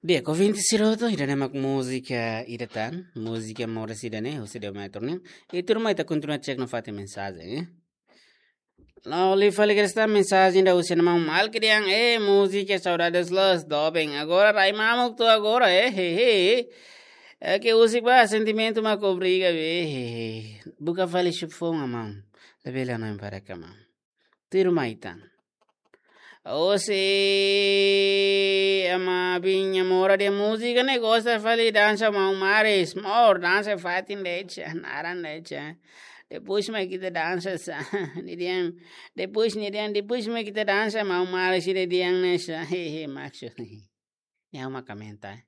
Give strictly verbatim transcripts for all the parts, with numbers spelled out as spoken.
Di'ak, ouvinte sira hotu, ida-ne'e mak múzika ida tan, múzika moris ida-ne'e, husi Deu Metro ne'e. I tuirmai ita kontinua cek nafatin mensajen, eh. No, li fali kedas tan mensajen ida husi maun Malki dehan, eh, múzika Saudades Los, doben. Agora rai mamuk to'o agora, eh, he, he. É que husik ba, sentimentu mak obriga, be, he, he. Buka fali xufon, maun. Labele hanoin para ka, maun. Tuirmai tan. Osi, ama bin nia mora de'it múzika ne'e gosta fali dansa maun Maris. Mor, dansa fatin de'it, naran de'it. Depois mak ita dansa sa. Nia dehan, depois nia dehan, depois mak ita dansa maun Maris, nia dehan ne'e sa. He, he, maksud. Nia uma komenta.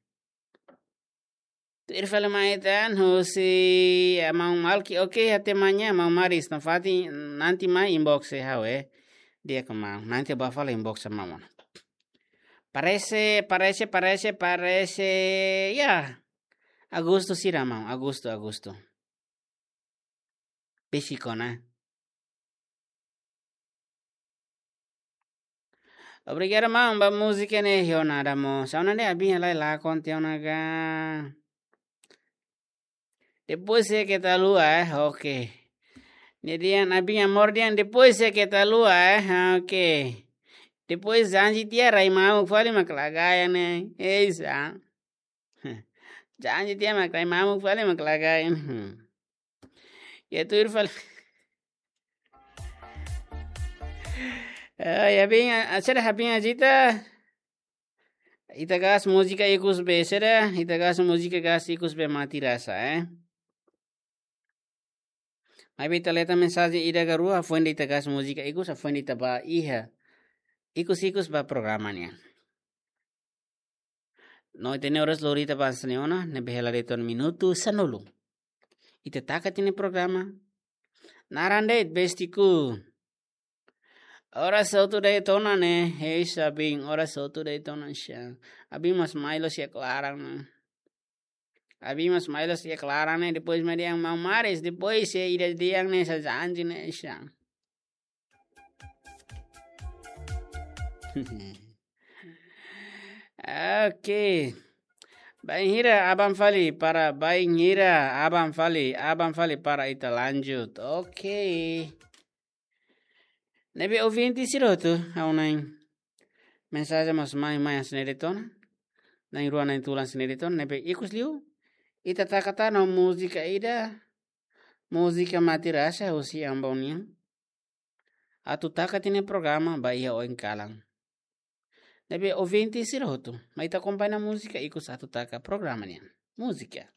Tuir fali mai tan, husi, eh, maun Malki, oke, até amanhã, maun Maris, nafatin, nanti mai inbox, eh, ha'u, eh. Di'ak maun, nanti bá fali inbox maun. Parese, parese, parese, parese, ya. Agostu sira maun, agostu, agostu. Besik ona. Obrigadu maun ba múzika ne'e, ha'u nada mós. Ha'u nada, abin halai la konte ona ga. Depois é que tá lua, eh? Ok. Nia dehan, abin amor dehan, depois é que tá lua, eh? Ok. Depois janji tiha rai mamuk fali mak la gaya ne'e. Ei, sa. Janji tiha mak rai mamuk fali mak la gaya ne'e. Hmm. Ya tuir fali. Eh, ya bin, a, sira abin agita. Ita gas múzika ikus be, sira, ita gas múzika gas ikus be mati rasa, eh. Maibé ita leta mensajen ida ka rua, hafoin de'it ita gas múzika ikus, hafoin de'it ita bá iha. Ikus-ikus ba programa nian. No ita-nia oras lori ita bá hanesan ne'e ona, ne'ebé hela de'it ona minutu sanulu. Ita taka tiha nia programa. Naran de'it Bestiku. Oras hotu de'it ona ne'e, hei sa abin, oras hotu de'it ona sa. Abin mós mai loos iha klaran ne'e. Abin mós mai loos iha klaran ne'e, depois mak dehan maun Maris, depois se ida dehan ne'e sa janji ne'e sa. Oke. Bainhira aban fali para, bainhira aban fali, aban fali para ita lanjut. Oke. Ne'ebé ouvinte sira hotu, ha'u-nia mensajen mós mai, mai hanesan ne'e de'it ona. Na'in-rua na'in-tolu hanesan ne'e de'it ona, ne'ebé ikus liu. Ita taka tan ho múzika ida, múzika mati rasa husi Ambon nian. Atu taka tiha nia programa ba iha oin kalan. Ne'ebé ouvinte sira hotu, mai ita akompaña múzika ikus atu taka programa nian. Múzika.